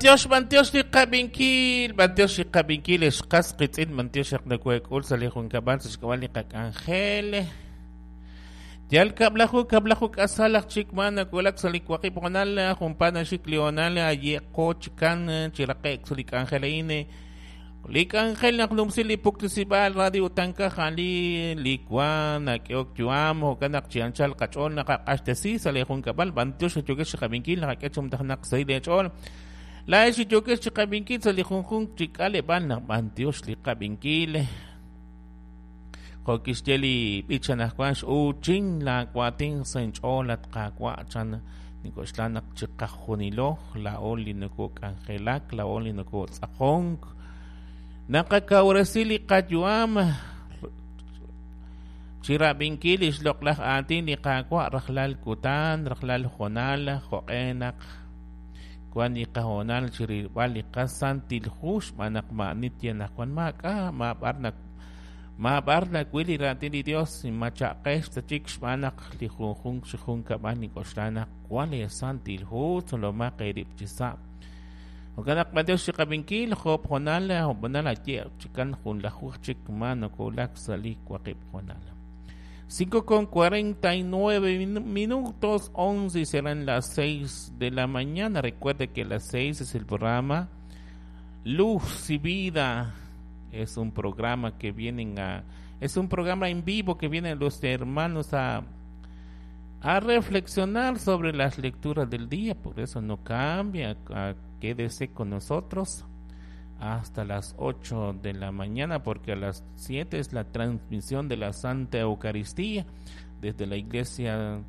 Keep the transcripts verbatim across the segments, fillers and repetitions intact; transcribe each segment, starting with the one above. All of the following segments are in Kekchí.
Tiox bantiox li qab'inkil, bantiox li qab'inkil xqas qitz'in bantiox naqnakuek'ul sa li junkab'al sa xk'ab'al li qak'anjel. Yal kab'laju kab'laju k'asal aj chik ma nakuelak sa li waqib' honal junpa naxik li honal ayeqo chikan chiraqek sa li k'anjel a'in. Li k'anjel naq numsi li puktisib'al radio tankaj ali li wan nak'eok yuam jo'kan naq chi anchal qach'ool naqaq'axtesi sa li junkab'al bantiox yokex qab'inkil naqak'e chumtajnaq sa li ch'ool. La ex yokex chiqab'inkil sa li junjunq chi k'aleb'al naq bantiox li qab'inkil. Jo'kixye li b'ich anaqwan x'uchin la waatin sa inch'ool at qaawa' chan nik'oxla naq chiqajunilo laa'o li nokok'anjelak laa'o li nokotz'aqonk naqakawresi li qayu'am chirab'inkil li xloq'laj aatin li qaawa' rajlal kutan rajlal jonal jo'q'e naq wan li qahonal chirilb'al li qasantil hu xb'aan naq ma'nit ye naq wan maak'a mab'ar naq mab'ar nawil li raatin li Dios machaqex ta chik xb'aan naq li junjunq chi junkab'al nik'oxla naq wan li santil hu tzolomaq eerib' chi sa'. Jo'kan naq b'antiox chiqab'inkil jo'b jonal jo'b honal aye chikan junlajuj chik ma nokolak sa li waqib' jonal. Cinco con cuarenta y nueve minutos, once y serán las seis de la mañana. Recuerde que las seis es el programa Luz y Vida. Es un programa que vienen a, es un programa en vivo que vienen los hermanos a, a reflexionar sobre las lecturas del día. Por eso no cambia, a, quédese con nosotros hasta las ocho de la mañana, porque a las siete es la transmisión de la Santa Eucaristía desde la iglesia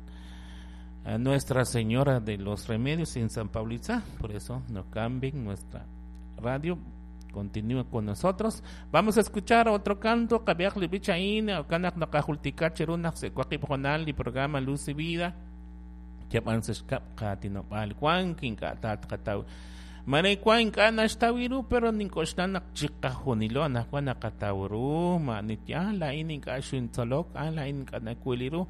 a Nuestra Señora de los Remedios en San Pablitza. Por eso no cambien nuestra radio, continúa con nosotros. Vamos a escuchar otro canto, Kabiak Libichain, Kanak Nakajultika Cherunak Secuaqib Jonal y programa Luz y Vida. Yapan Seshkap Katinopal Juan Kinkatat Kataw. Marekwa ink'a' naxtaw pero nink'oxla naq chiqajunilo anaqwan naqataw ru ma'nit ya laa'in ink'a' xintzolok ah laa'in ink'a' nawil ru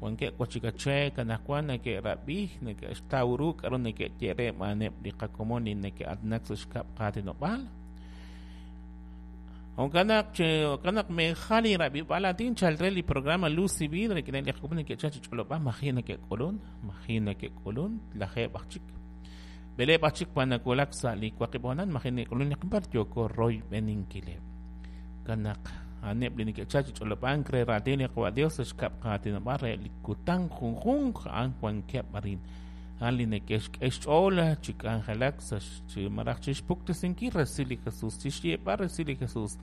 wankeb' wachikachek anaqwan neke'rab'ij neke'xtaw ru k'aru neke'ye re b'aneb' li qakomon li neke'atnak sa xkab' qaatinob'aal. Jo'kan naq jo'kan naq mejal li rab'ib'al aatin chal re li programa Luz y Vida rik'in li qakomon neke'chal chi ch'olob'al maji' neke'k'ulun maji' neke'k'ulun lajeeb' aj chik Beleb' aj chik panakulak sa li waqib' honan maji' neke'k'ulun li qbar yoko roy beninkileb'. Kanak aneb' li neke'chal chi ch'olob'ank re raatin li Qawa' Dios xkab' qaatinob'al re li kutan junjunq a'an wankeb' arin. A'an li neke'xk'e xch'ool chi k'anjelak sa chi maraj chi xpuktesinkil resil li Jesus chi xyeeb'al resil li Jesus.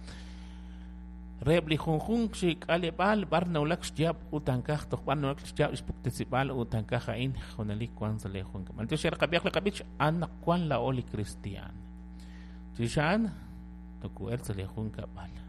Reb' li junjunq chi k'aleb'aal b'ar nawulak xyaab' ut ankaj toj b'ar nawulak xyaab' xpuktesib'al ut ankaj a'in junalik wan sa li junkab'al. Bantiox qab'iyaq li qab'ich anaq wan laa'o li cristian. Chixa'an toku'el sa li junkab'al.